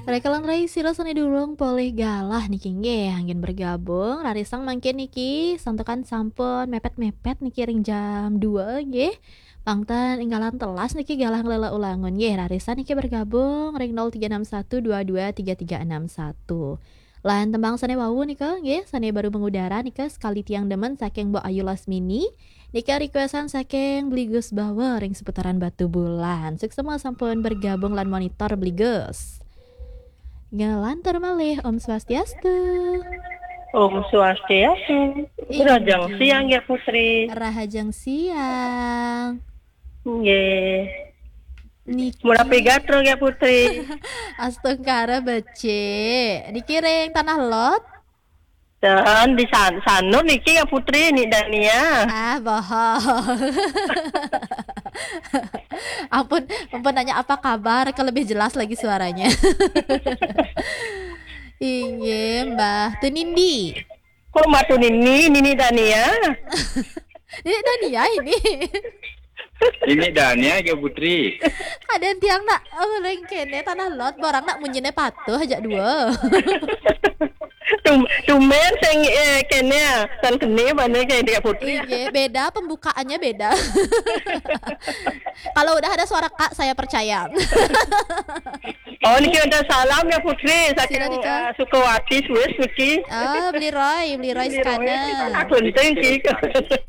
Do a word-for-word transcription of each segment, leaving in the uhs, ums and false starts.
Rekalan rai sira sané durung polih galah niki nggih, anggén bergabung, rarisang mangkin niki santukan sampun mepet-mepet niki ring jam dua nggih. Pang ten énggalan telas niki galah nglela ulangun nggih, rarisang niki bergabung ring nol tiga enam satu dua dua tiga tiga enam satu. Lan tembang sané wau nika nggih, sané baru mengudara nika Sekali Tiang Demen saking Mbok Ayu Lasmini. Nika requestan saking Bli Gus Bawa ring seputaran Batubulan. Suksma sampun bergabung lan monitor Bli Gus. Ngelantur malih, Om Swastiastu. Om Swastiastu. Inggih. Rahajeng siang ya Putri. Rahajeng siang. Nggih. Niki. Mula pigatro ya Putri. Astungkara becik. Niki ring Tanah Lot. Dan di San Sanur niki ya Putri, Nik Dania. Ah, bohong. Ampun, ampun nanya apa kabar, ke lebih jelas lagi suaranya. Inggih, Mbah Tunindi. Kok Mbah Tunindi, Nini Dania? Ini Dania ini. Ini Dania ya Putri. Kadén tiang nak, oh, ring kéné Tanah Lot, borang nak munyiné patuh aja dua. Tum, tumben sing eh, kéné ya, tan kéné mana kayak dia Putri. Iya, beda pembukaannya beda. Kalau udah ada suara Kak, saya percaya. Oh, niki ada salam ya Putri, saking Sira nika. Eh, Sukawati Swiss niki. Oh, Beli Roy, Beli Roy Sekana. Aku penting sih.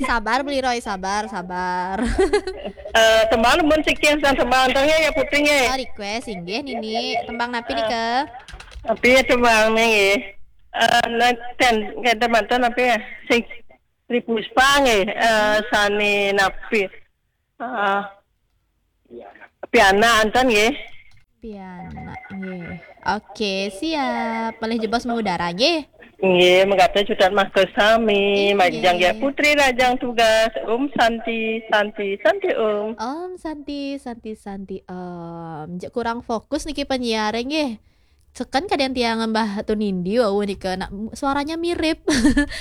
Sabar Beli Roy, sabar, sabar. Eh, tembang mun siking sang tembang tengah ya Putri nggih. Oh, request inggih Nini. Tembang napi nika? Tapi ya tembang nggih. Eh, nanten kata mantan apa ya? Sing Tri Puspa nggih. Eh, sane napi? Ah, pianak anten nggih. Pianak nggih. Oke, siap. Malih jebos mengudara nggih. Nggih, mekaten cutet mangke sami. Inggih. Majeng ya Putri rajang tugas. Om Santi, Santi, Santi Om. Om Santi, Santi, Santi Om. Jek kurang fokus niki penyiar nggih. Seken kadén tiang Mbah Tunindi wau nika nak suaranya mirip.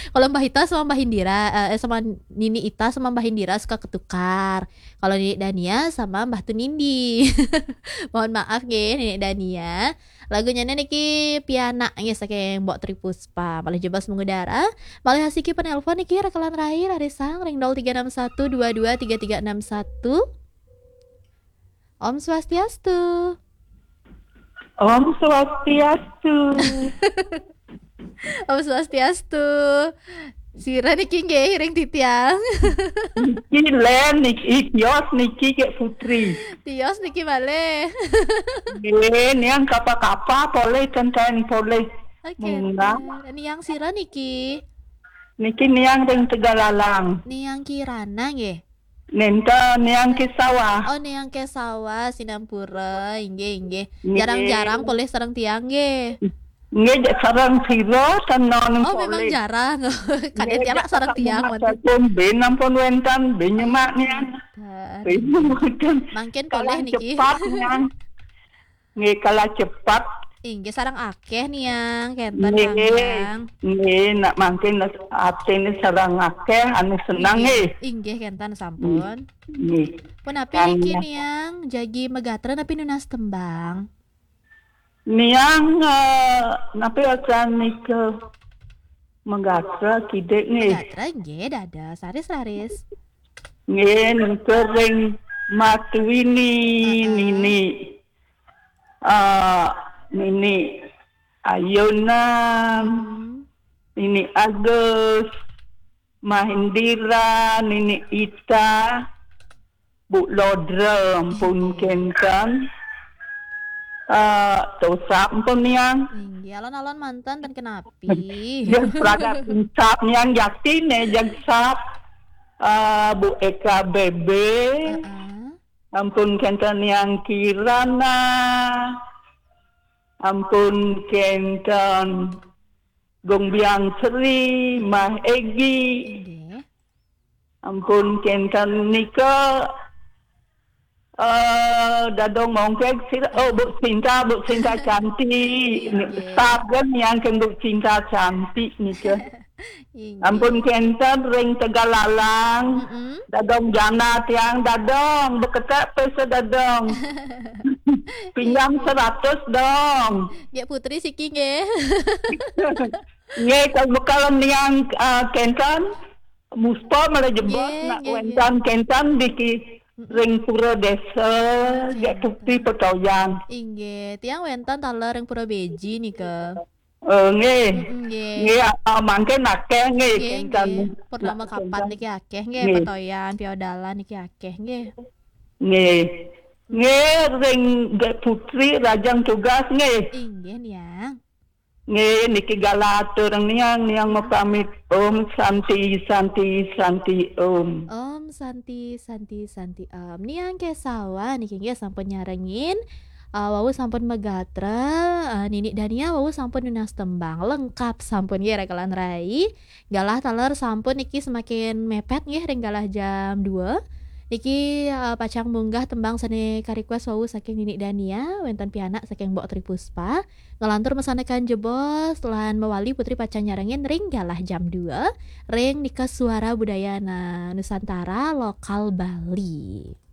Kalau Mbah Ita sama Mbah Indira, eh, sama Nini Ita sama Mbah Indira suka ketukar. Kalau Nini Dania sama Mbah Tunindi. Mohon maaf nggih, Nini Dania. Lagunya niki pianak nggih saking Mbok Tri Puspa. Malih jebos mengudara. Malih asiki penelpon niki rekalan rai rarisang ring nol tiga enam satu dua dua tiga tiga enam satu. Om Swastiastu. Om Swastiastu. Om Swastiastu. Sira niki nggih ring titiang. Niki Len niki, tios niki Kek Putri. Tios niki malih. Nggih, niang kapa-kapa polih tenten polih. Oke. Niang sira niki. Niki niang ring Tegalalang. Niang Kirana nggih. Nenten niang ke sawah. Oh, niang ke sawah, sinampura. Inggih, inggih. Nggih. Jarang-jarang polih sareng tiang nggih. Nggih, jek sareng sira tenan. Oh, memang polih. Jarang. Kadén tiang sareng tiang mboten. Sampun ben ampun wénten, ben nyemak niang. Mboten. Ben mboten. Mangkin polih niki. Cepat niang. Nggih, kalah cepat. Inggih, sareng akéh niang, kénten. Nggih. Niang. Nggih, nak mangkin atine sareng akéh anu seneng nggih. Inggih, kénten sampun. Nggih. Punapi niki niang, jagi megatra napi nunas tembang? Niang eh, napi acan nika megatra kidik nggih. Megatra nggih, dados raris-raris. Nggih, nika ring Matwini. Heeh. Nini. Ah, Nini Ayunan, Nini Agus, Mah Indira, Nini Ita, Bu Lodra, ampun kénten. Ah, tosap ampun niang. Inggih, alon-alon manten ten kenapi. Dia pragat insap niang jakti ne jagsap. Ah, Bu Eka Bebe. Heeh. Ampun kénten niang Kirana. Ampun kénten Gong Biang Sri, Mah Egi. Inggih. Ampun kénten nika eh dadong mongkeg sira, oh Bu Cinta, Bu Cinta cantik. Inggih. Saben niang kén Bu Cinta cantik nika. Inggih. Ampun kénten ring Tegalalang. Mm-mm. Dadong jana tiang dadong, beketek pesa dadong. Pinjam seratus dong. Gék Putri siki nggih. Nggih, kalau bekal niang eh, kénten Muspa malah jebos Nggih, nak nggih, wénten kénten niki ring pura désa Gék Putri Petoyan. Inggih, tiang wénten taler ring Pura Beji nika. Eh, nggih. Nggih. Nggih, ah, mangkin akéh nggih Nggih, kénten. nggih. Purnama Nak kapan kénten. Niki akéh nggih, Nggih. Petoyan, Piodalan niki akéh nggih. Nggih. Nggih, ring Gék Putri rajang tugas nggih. Inggih, Niang. Nggih, niki galah atur niang, niang mapamit. Om Santi, Santi, Santi Om. Om Santi, Santi, Santi Om. Niang Kesawa niki nggih sampun nyarengin. Eh, wau sampun magatra, eh, Nini Dania wau sampun nunas tembang, lengkap sampun nggih rekelan rai. Galah taler sampun niki semakin mepet nggih ring galah jam dua. Niki eh, pacang munggah tembang sané ka-request wau saking Nini Dania, wénten pianak saking Mbok Tri Puspa. Ngelantur masandekan jebos lan mawali Putri pacang nyarengin ring galah jam dua ring nika Suara Budaya Na-, Nusantara Lokal Bali.